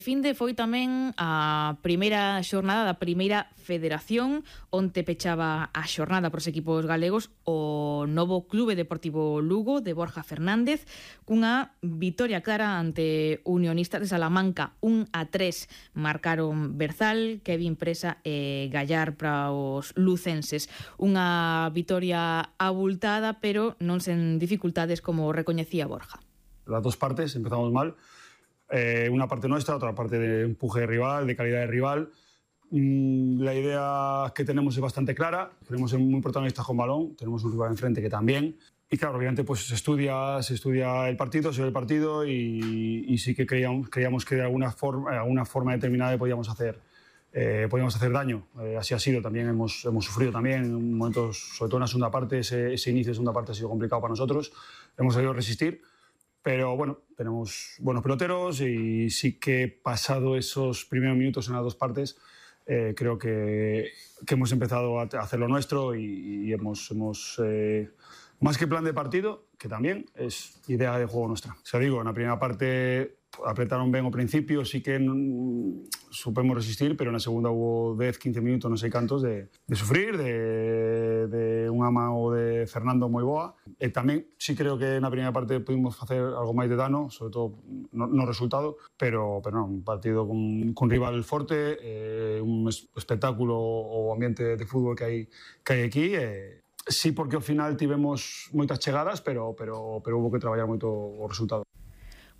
Finde foi tamén a primeira xornada da primeira federación, onte pechaba a xornada pros equipos galegos o novo Clube Deportivo Lugo de Borja Fernández, cunha vitoria clara ante Unionistas de Salamanca. 1-3 marcaron Berzal, Kevin Presa e Gallar para os lucenses. Unha vitoria abultada, pero non sen dificultades, como recoñecía Borja. Las dos partes empezamos mal. Una parte nuestra, otra parte de empuje de rival, de calidad de rival. La idea que tenemos es bastante clara, queremos ser muy protagonistas con balón, tenemos un rival enfrente que también. Y claro, obviamente pues se estudia el partido, se ve el partido y sí que creíamos que de alguna forma determinada podíamos hacer daño. Así ha sido, también hemos sufrido también en momentos, sobre todo en la segunda parte, ese inicio de segunda parte ha sido complicado para nosotros, hemos sabido resistir. Pero bueno, tenemos buenos peloteros y sí que pasado esos primeros minutos en las dos partes, creo que hemos empezado a hacer lo nuestro y hemos más que plan de partido, que también es idea de juego nuestra. O sea, digo, en la primera parte apretaron bien al principio, sí que supimos resistir, pero en la segunda hubo 10-15 minutos, no sé cantos, de sufrir, de un amago de Fernando moi boa. Tamén sí creo que na primeira parte pudimos facer algo máis de dano, sobre todo no resultado, pero non, un partido con rival forte, un espectáculo o ambiente de fútbol que hai aquí. Sí, porque ao final tivemos moitas chegadas, pero hubo que traballar moito o resultado.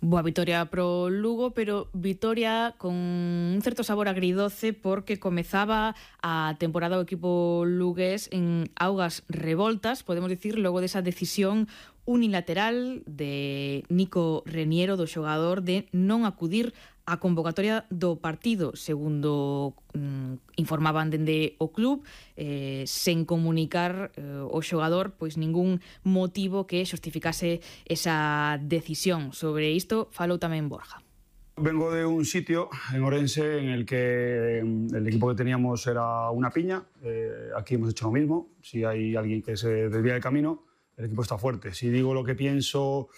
Boa vitoria pro Lugo, pero vitoria con un certo sabor agridoce, porque comezaba a temporada o equipo lugués en augas revoltas, podemos dicir, logo desa decisión unilateral de Nico Reniero, do xogador, de non acudir a convocatoria do partido, segundo informaban dende o club, sen comunicar o xogador pois ningún motivo que xustificase esa decisión. Sobre isto falou tamén Borja. Vengo de un sitio en Orense en el que el equipo que teníamos era una piña. Aquí hemos hecho lo mismo. Si hay alguien que se desvía del camino, el equipo está fuerte. Si digo lo que pienso,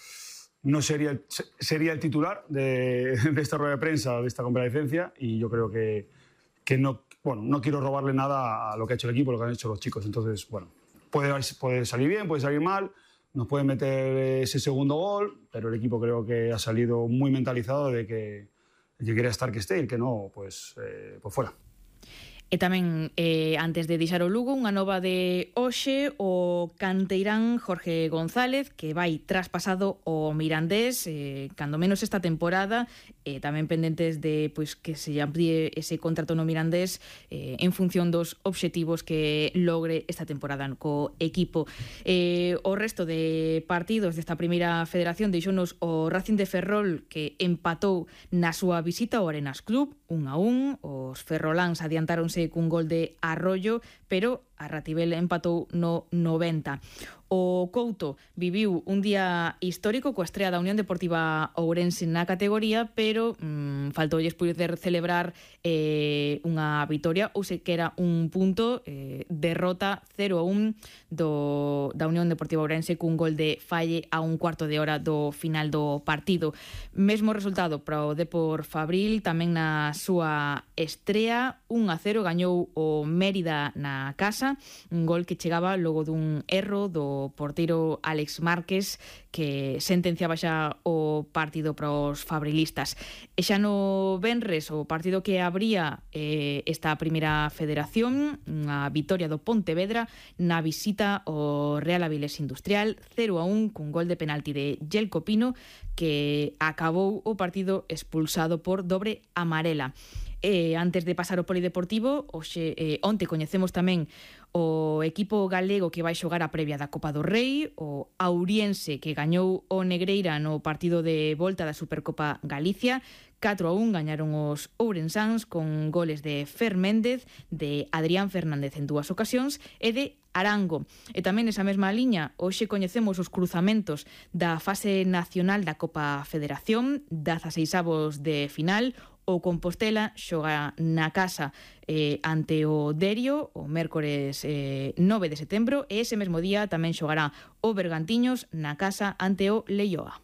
no sería el titular de esta rueda de prensa, de esta comparecencia, y yo creo que no quiero robarle nada a lo que ha hecho el equipo, lo que han hecho los chicos. Entonces, bueno, puede salir bien, puede salir mal, nos puede meter ese segundo gol, pero el equipo creo que ha salido muy mentalizado de que el que quiera estar que esté y el que no, pues fuera. E tamén, antes de deixar o Lugo, unha nova de hoxe, o canteirán Jorge González, que vai traspasado ao Mirandés, cando menos esta temporada, tamén pendentes de que se amplíe ese contrato no Mirandés en función dos obxectivos que logre esta temporada co equipo. O resto de partidos desta primeira federación deixounos o Racing de Ferrol, que empatou na súa visita ao Arenas Club, 1-1, os ferroláns adiantáronse cun gol de Arroyo, pero a Rativel empatou no 90. O Couto viviu un día histórico coa estrea da Unión Deportiva Ourense na categoría, pero faltoulles poder celebrar unha vitoria, ou sequera un punto, derrota 0-1 da Unión Deportiva Ourense cun gol de Falle a un cuarto de hora do final do partido. Mesmo resultado para o Depor Fabril, tamén na súa estrea, 1-0 gañou o Mérida na casa, un gol que chegaba logo dun erro do porteiro Alex Márquez, que sentenciaba xa o partido para os fabrilistas. E xa no venres, o partido que abría esta primeira federación, unha vitoria do Pontevedra na visita ao Real Avilés Industrial, 0-1 cun gol de penalti de Yelko Pino, que acabou o partido expulsado por dobre amarela. Antes de pasar ao polideportivo, onte coñecemos tamén o equipo galego que vai xogar a previa da Copa do Rei, o Auriense, que gañou o Negreira no partido de volta da Supercopa Galicia, 4-1 gañaron os ourensáns con goles de Fer Méndez, de Adrián Fernández en dúas ocasións e de Arango. E tamén nesa mesma liña, hoxe coñecemos os cruzamentos da fase nacional da Copa Federación, 16avos de final. O Compostela xoga na casa ante o Derio o mércores 9 de setembro, e ese mesmo día tamén xogará o Bergantiños na casa ante o Leioa.